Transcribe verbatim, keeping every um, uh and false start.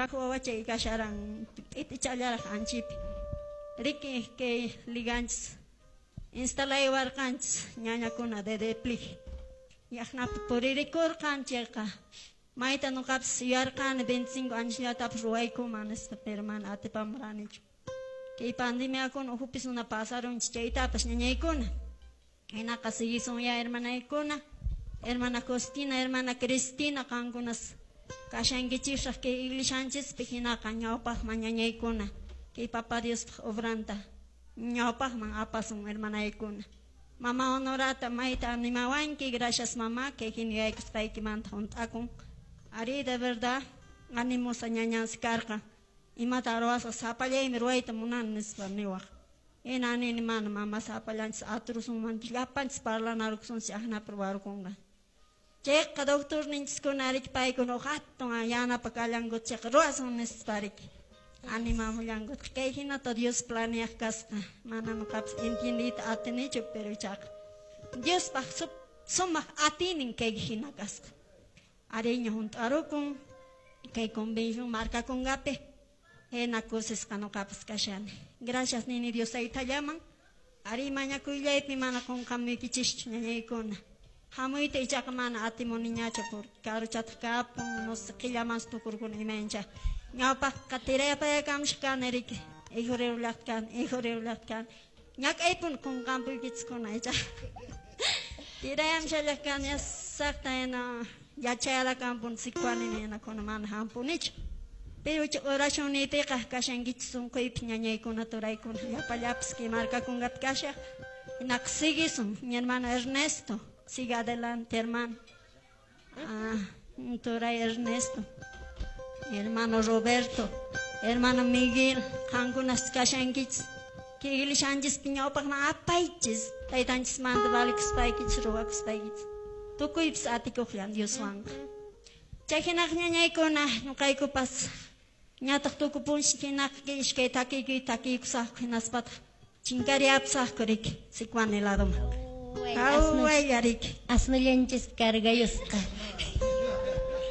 Kuraq wawachay kasharan p'itichallaraq anchipi. Riki kay liganchis instalaywarqanchis ñañakuna de depli. Yaqnapi puririkurqan chayqa mayta nuqapis yuyarqani veinticinco añosllatapas ruwaykuman nispa, pero mana atipamuranichu. Kay pandemiakuna uhupis una pasarunchis chaytapas ñañaykuna. Hinaqa siguisunya hermanaykuna, hermana Costina, hermana Cristina, qankunas kashankichisraq kay iglesianchispi hinaqa ñawpaqman ñañaykuna kay Papa Diospaq obranta ñawpaqman apasun hermanaykuna. Mama Honorata mayta animawanki, gracias mamá, kay hina yuyaykusqaykimanta hunt'akun. Ari de verdad animosa ñañansi karqa. Imata ruwasqa sapallaymi ruwayta munani nispa niwaq. Hina nini mana mama sapallanchis aturusunmanchis llapanchis parlanarukusunchis aqnapi ruwarukunqa. Chayqa doctor ninchiskuna riki paykuna huk hatun yanapa kallankuta chayqa ruwasun nispa riki. Animamullankutaq kay hinata Dios planeaq kasqa. Mana nuqapis entiendiyta atinichu, pero ichaqa Diospaq sumaq atiynin kay hina kasqa. Ariña hunt'arukun kay convención markakunqapi hina kusisqa nuqapas kashani. Gracias nini Dios taytallaman. Ari mañakuyllaypi mana qunqamuykichischu ñañaykuna. Hamuyta ichaqa mana atimuniñachu porque karuchataq kapun, no sé qillamansi tukurkuni imayncha. Ñawpaqqa tirayapayakamushqa kani riki. Ijurirullaqta kani, ijurirullaqta kani. Ñak'aypuni qunqampuykichiskuna ichaqa. Tirayamushallaq kani yasaqta hina yachayarakampuni Sicuanini hinakuna mana hampunichu. Pero oración niypiqa kashankichis sunquypi ñañaykuna turaykuna llapallapas kay markakunqapi kashaq. Hinaqa siguisun mi hermano Ernesto. Siga adelante, hermano. Ah, turay Ernesto. Hermano Roberto, hermano Miguel, qankunas kashankichis. Kay iglesianchispi ñawpaqman apaychis. Taytanchismanta valikuspaykichis, ruwakuspaykichis. Tukuypis atikuqllan Dioswanqa. Chay hinaq ñañaykuna ñuqaykupas ñataq tukupunchis hinaqa kay iskay takiykuy takiykusaqku hinaspataq chinkariyapusaqku riki Sicuani ladoman. Hawaylla riki. Asnullanchis cargayusqa.